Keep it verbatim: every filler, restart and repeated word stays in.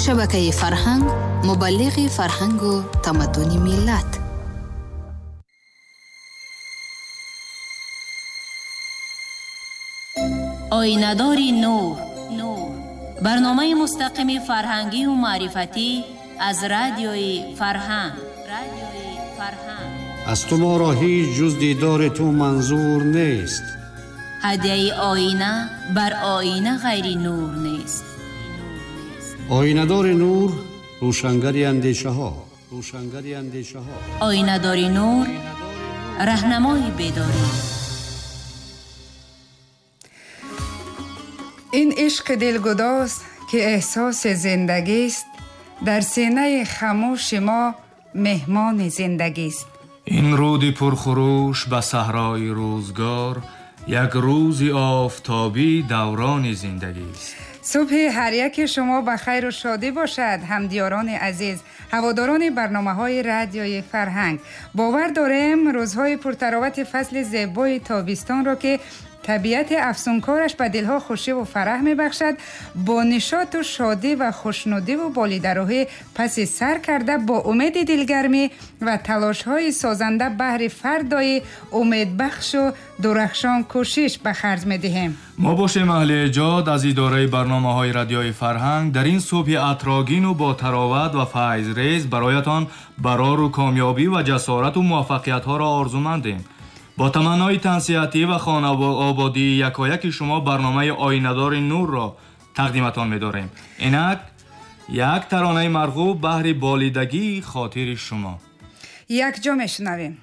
Шабакаи Фарҳанг, мубаллиғи фарҳангу тамаддуни миллат. Оинадори нур, барномаи мустақими фарҳангию маърифатӣ аз радиои Фарҳанг. Аз ту моро ҳеҷ ҷуз дидори ту манзур нест. Ҳадияи оина бар оина ғайри нур нест. Оинадори нур, рӯшангари андешаҳо, рӯшангари андешаҳо. Оинадори нур, раҳнамои бедорӣ. Ин ишқи дилгудоз, ки эҳсоси зиндагист, дар синаи хамӯши мо меҳмони зиндагист. Ин руди пурхурӯш ба саҳрои рӯзгор як рӯзи офтобӣ даврони зиндагист. Субҳи ҳар яки шумо ба хайру шодӣ бошад, ҳамдиёрони азиз, ҳаводорони барномаҳои радиои Фарҳанг. Бовар дорем, рӯзҳои пуртаровати фасли зебои тобистонро, ки табиати афсункораш ба дилҳо хушиву фараҳ мебахшад, бо нишоту шодӣ ва хушнудиву болидарӯҳӣ паси сар карда, бо умеди дилгармӣ ва талошҳои созанда баҳри фардои умедбахшу дурахшон кӯшиш ба харҷ медиҳем. Мо бошем аҳли эҷод аз идораи барномаҳои радиои Фарҳанг дар ин субҳи атроогину бо тароват ва файзрез бароятон барору комёбӣ ва ҷасорату муваффақиятҳоро орзумандем. Бо таманнои тансиҳатӣ ва хонаободии якояки шумо барномаи Оинадори нурро тақдиматон медорем. Инак як таронаи марғуб баҳри болидагии хотири шумо. Якҷо мешунавем.